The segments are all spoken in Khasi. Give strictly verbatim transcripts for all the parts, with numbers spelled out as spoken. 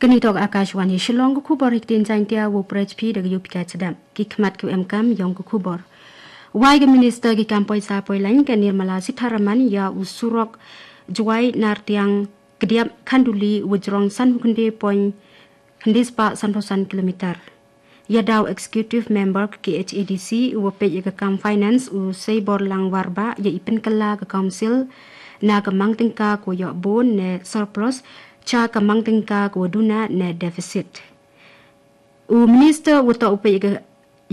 Kani toh ka Akashvani Shillong, ka khubor ha ka ktien Jaiñtia, u Prech P da ka U P K Chadap. Ki khmat ki em kam ïong ka khubor. Wai ka Minister ki kam poisa poilaiñ ka Nirmala Sitharaman ïa u surok Jowai Nartiang Kdiap Khanduli u jrong sanphew khyndai point khyndai spah sanphew san kilometer. Ïa da u Executive Member ka K H A D C u wa peit ïa ka kam finance u Seiborlang Warbah ïa i pynkylla ka council na ka mang tyngka ka wa ïoh bun ne surplus cha ka mang tyngka ka wa duna ne deficit. U Minister u wa toh u peit ïa ka,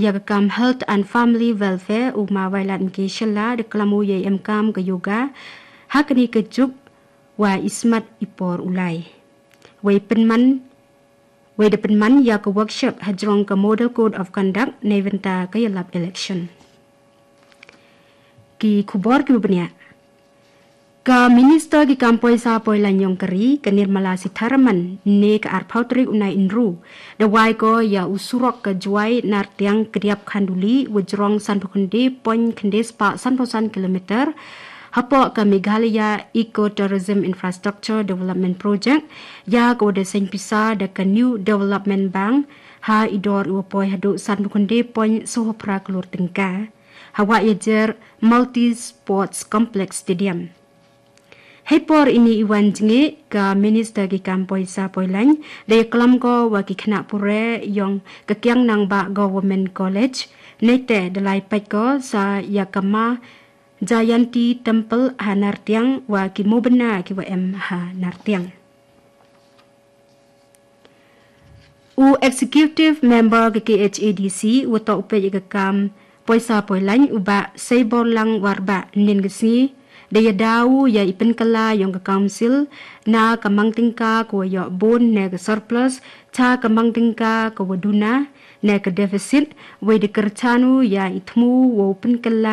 ïa ka kam Health and Family Welfare u Ma Wailadmiki Shylla da klam u ïa i em kam ka yoga ha kani ka juk wa i smat i por u lai. Wei pynman, wei da pynman ïa ka workshop ha jrong ka Model Code of Conduct na bynta ka ïalap election. Ki khubor ki wa bniah. Ka Minister ki kam poisa poilaiñ ïong ka ri ka Nirmala Sitharaman ne ka arphew tarik u Naiïnru da wai ko ïa u surok ka Jowai Nartiang Kdiap Khanduli wa jrong sanphew khyndai point khyndai spah sanphew san kilometer hapoh ka Meghalaya Eco Tourism Infrastructure Development Project ïa ka wa da seng pisa da ka New Development Bank ha i dor i wa poi haduh sanphew khyndai point sawphew phra klur tyngka ha wa ïajer Multi Sports Complex Stadium. Hei por ini i wan jngi ka Minister ki kam poisa poilaiñ da ïa klam ko wa ki khynnah pure ïong ka Kiang Nangbah Government College. Neite da lai peit ko sa ïa ka Ma Jayanti Temple ha Nartiang wa ki mubna ki wa em ha Nartiang. U Executive Member ka K H A D C u wa toh u peit ïa ka kam poisa poilaiñ u Bah Seiborlang Warbah nin ka sngi da ïa da u ïa i pynkylla ïong ka council na ka mang tyngka ka wa ïoh bun ne ka surplus cha ka mang tyngka ka wa duna ne ka deficit, wei da kyrchan u ïa i thmu wa u pynkylla